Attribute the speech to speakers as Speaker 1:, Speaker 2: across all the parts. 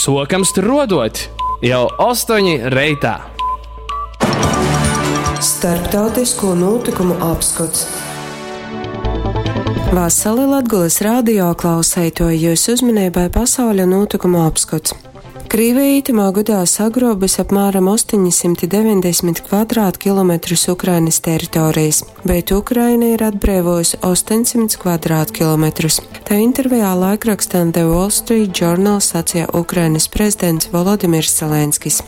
Speaker 1: Suokam struoduot jau 8 reitā.
Speaker 2: Starptautisko nūtykumu apskots. Vasali Latgolys radio klauseituoji, jūs uzmaneibai pasauļa nūtykumu apskots. Krīvija itymā godā sagruobus apmēram 890 kvadrātkilometrus Ukrainys teritorejis, bet Ukraina ir atbreivuojusi 800 kvadrātkilometrus. Tai intervejā laikrakstam The Wall Street Journal saceja Ukrainys prezidents Volodimirs Zelenskis.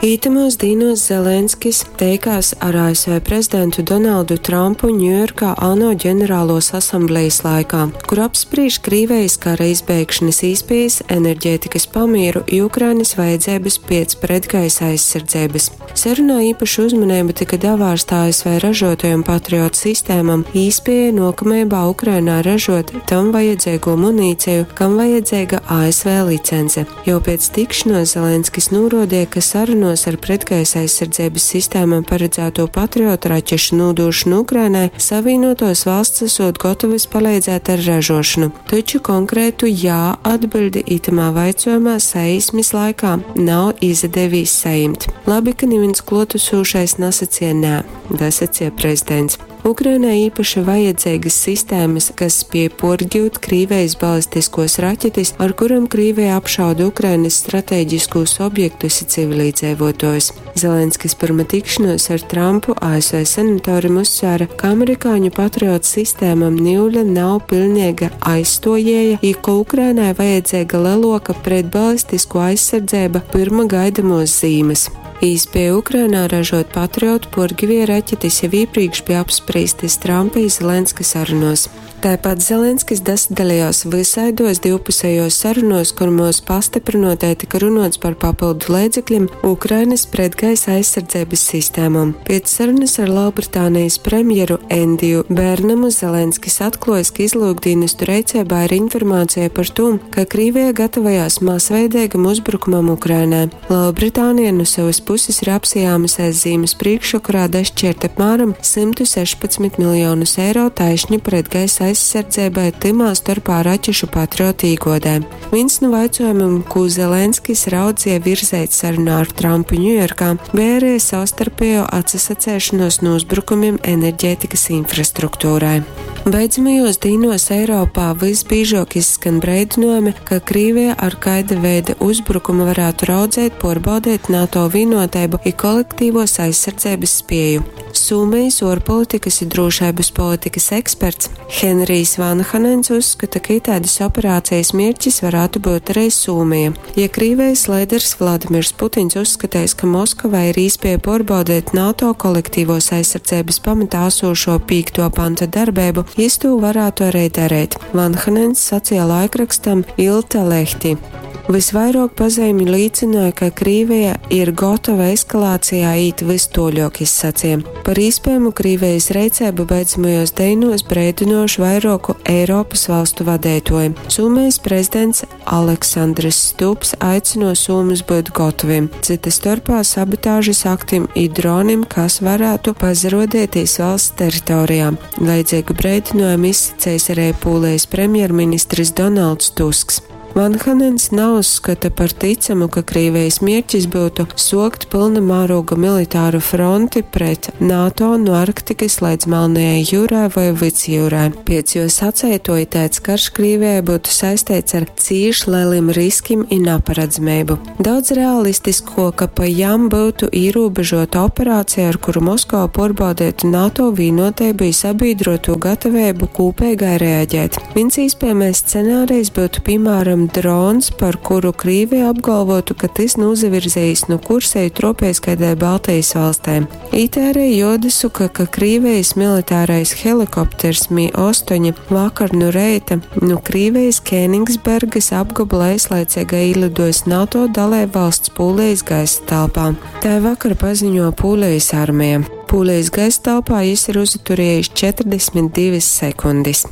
Speaker 2: Ītamuos dīnuos Zelenskis teikās ar ASV prezidentu Donaldu Trumpu Ņujorkā ANO ģenerāluos asamblejis laikā, kur apsprīž Krīvejis kara izbeigšanas īspiejas, enerģētikas pamieru i Ukrainys vajadzeibys piec pretgaisa aizsardzeibys. Sarunā īpaša uzmaneiba tyka davārsta ASV ražotajom Patriot sistēmom i īspiejai nuokameibā Ukrainā ražuot tam vajadzeigū munīceju, kam vajadzeiga ASV licence. Jau piec tikšonuos Zelenskis nūruodeja, ka sarunuos ar pretgaisa aizsardzeibys sistēmom paradzātū Patriot raķešu nūdūšanu Ukrainai Savīnuotuos valsts esot gotovys paleidzēt ar ražuošonu. Taču konkrētu jā atbiļdi itamā vaicuojumā saīsmis laikā nav izadevīs sajimt. Labi, ka nivīns kluotasūšais nasacie nē, dasacie prezidents. Ukrainai īpaši vajadzeigys sistēmys, kas spiej puorgiut Krīvejis balistiskos raķetis, ar kurom Krīveja apšauda Ukrainys strateģiskūs objektus i civilīdzeivuotuojus. Zelenskis pyrma tikšonuos ar Trampu ASV senatorim uzsvēra, ka amerikāņu Patriot sistēmom niule nav piļneiga aizstuojieja i ka Ukrainai vajadzeiga leluoka pretbalistisko aizsardzeiba pyrma gaidamuos zīmys. Īspieja Ukrainā ražuot Patriot puorgivie raķetis jau īprīkš bija apsprīstys Trampa i Zelenska sarunuos. Taipat Zelenskis dasadalejuos vysaiduos divpusejuos sarunuos, kurmuos pastyprynuotai tyka runuots par papyldu leidzeklim Ukrainys pretgaisa aizsardzeibys sistēmom. Piec sarunys ar Lelbritānejis premjeru Endiju Bernamu Zelenskis atkluojs, ka izlyukdīnestu reiceibā ir informāceja par tū, ka Krīveja gatavojās masveideigam uzbrukumam Ukrainai. Lelbritānija nu sovys pusis ir apsajāmusēs zīmys prīkšvokorā dašķiert apmēram 116 miljonus eiro taišņi pretgaisa aizsardzeibai, tymā storpā raķešu Patriot īguodē. Vīns nu vaicuojumim, kū Zelenskis raudzeja virzeit sarunā ar Trampu Ņujorkā, beja arī savstarpejo atsasaceišonuos nu uzbrukumim enerģētikas infrastruktūrai. Beidzamajuos dīnuos Eiropā vysbīžuok izskan breidynojumi, ka Krīvija ar kaida veida uzbrukumu varātu raudzeit puorbaudeit NATO vīnuoteibu i kolektīvuos aizsardzeibys spieju. Sūmejis uorpolitikys i drūšeibys politikys eksperts Henrijs Vanhanens uzskata, ka itaidys operācejis mierķis varātu byut ari Sūmeja. Ja Krīvejis leiders Vladimirs Putins uzskateis, ka Moskovai ir īspieja puorbaudeit NATO kolektīvuos aizsardzeibys pamatā asūšo pīktuo panta darbeibu, jis tū varātu ari dareit, Vanhanens saceja laikrakstam Iltalehti. Vysvairuok pazeimju līcynuoja, ka Krīveja ir gotova eskalācijā īt vys tuoļuok, jis saceja. Par īspējamu Krīvejis reiceibu beidzamajuos deinuos breidynuojuši vairuoku Eiropys valstu vadeituoji. Sūmejis prezidents Aleksandrs Stubs aicynuo sūmus byut gotovim, cyta storpā sabotāžys aktim i dronim, kas varātu pazaruodeitīs valsts teritorijā. Leidzeigu breidynuojumu izsacejs ari Pūlejis premjerministrs Donalds Tusks. Vanhanens nauzskata par ticamu, ka Krīvejis mierķis byutu suokt pylna mārūga militāru fronti pret NATO nu Arktikys leidz Melnajai jiurai voi Vydsjiurai. Piec juo saceituo, itaids karš Krīvejai byutu saisteits ar cīš lelim riskim i naparadzameibu. Daudz realistiskuoka, pa jam, byutu īrūbežuota operaceja, ar kuru Moskova puorbaudeitu NATO vīnuoteibu i sabīdruotū gataveibu kūpeigai reaģēt. Vīns īspiejamais scenārijs byutu, pīmāram, drons, par kuru Krīvija apgalvotu, ka tys nūzavirzejis nu kursa i truopejs kaidai Baltejis valstei. Ite ari juodasuka, ka Krīvejis militārais helikopters Mi-8 vakar nu reita nu Krīvejis Kēnigsbergys apgobola eislaiceigai īliduojs NATO daleibvalsts Pūlejis gaisa telpā. Tai vakar paziņuo Pūlejis armeja. Pūlejis gaisa telpā jis ir uzaturiejis 42 sekundis.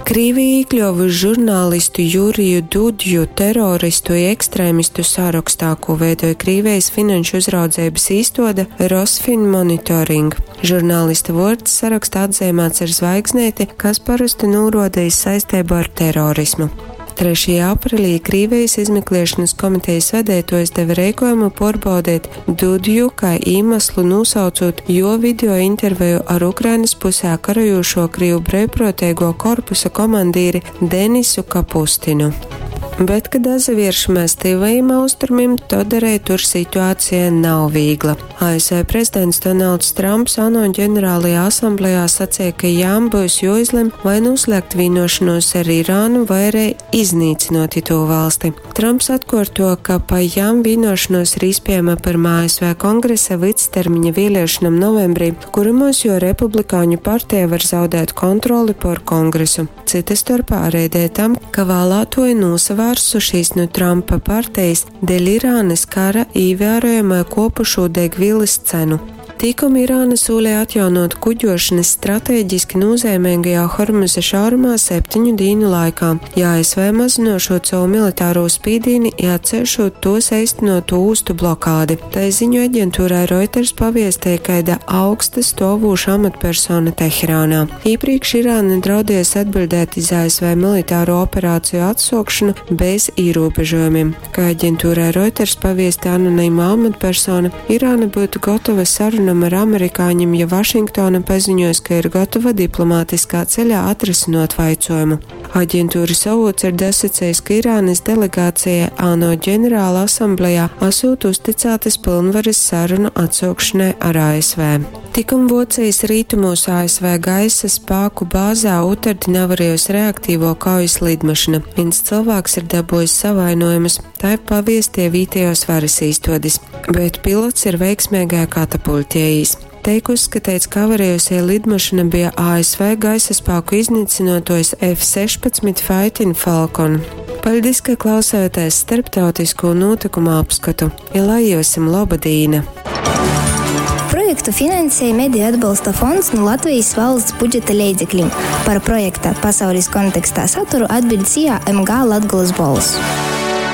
Speaker 2: Krīvija īkļuovuši žurnālistu Juriju Dudju teroristu i ekstrēmistu sarokstā, kū veidoj Krīvejis finanšu uzraudzeibys īstuode Rosfinmonitoring. Žurnālista vuords sarokstā atzeimāts ar zvaigzneiti, kas parosti nūruoda iz saisteibu ar terorismu. 3. Aprelī Krīvejis izmekliešonys komitejis vadeituojs deve reikuojumu puorbaudeit Dudju, kai īmaslu nūsaucūt juo video interveju ar Ukrainys pusē karojūšuo Krīvu breivpruoteiguo korpusa komandīri Denisu Kapustinu. Bet, kad dazavieršamēs tyvajim austrumim, tod arī tur situācija nav vīgla. ASV prezidents Donalds Trumps ANO ģenerālajā asamblejā sacīja, ka jām būs joizlem vai noslēgt vienošanos ar Irānu vai arī iznīcinot to valsti. Trumps atkārto, ka pa jām vienošanos ir iespējama pirmā ASV kongresa vidstermiņa vēlēšanām novembrī, kuramos jo republikāņu partija var zaudēt kontroli pār kongresu. Cita starpā arī dēļ tam, ka vēlētoji nosavārsušies no Trumpa partijas dēļ Irānas kara ievērojamai kopušo degvielas cenu. Tikam Irāna solīja atjaunot kuģošanas strateģiski nozīmīgajā Hormuza šaurumā 7 dienu laikā, ja ASV mazinošot savu militāro spīdīni, ja atceļšot tos eistenoto ūstu blokādi. Tai ziņu aģentūrai Reuters paviestēja kaida augsta stovūša amatpersona Teherānā. Iepriekš Irāna draudējas atbildēt iz ASV militāro operāciju atsokšanu bez ierobežojumiem. Kā aģentūrai Reuters paviestē anonīma amatpersona, Irāna būtu gatava sarunām ar amerikāņiem, ja Vašingtona paziņos, ka ir gatava diplomātiskā ceļā atrisinot vaicojumu. Aģentūras avots ir dasacējis, ka Irānas delegācija ANO ģenerāla asamblējā esot uzticētas pilnvaras sarunu atsaukšanai ar ASV. Tikum Vocijas rītumos ASV gaisa spēku bāzē otrdien avarējusi reaktīvo kaujas lidmašīna. Viens cilvēks ir dabūjis savainojumus, tā ir paviestie vietējos varas īstodis, bet pilots ir veiksmīgai katapultējis. Teik uzskatīts, ka avarējusie lidmašīna bija ASV gaisa spēku iznīcinotojs F-16 Fighting Falcon. Paldies, ka klausāties starptautisko notikumu apskatu. Ja lai jums laba dīna!
Speaker 3: Projektu finansēja Mediju atbalsta fonds no Latvijas valsts budžeta leidzekļiem. Par projekta pasaules kontekstā saturu atbild SIA MG Latgulas bols.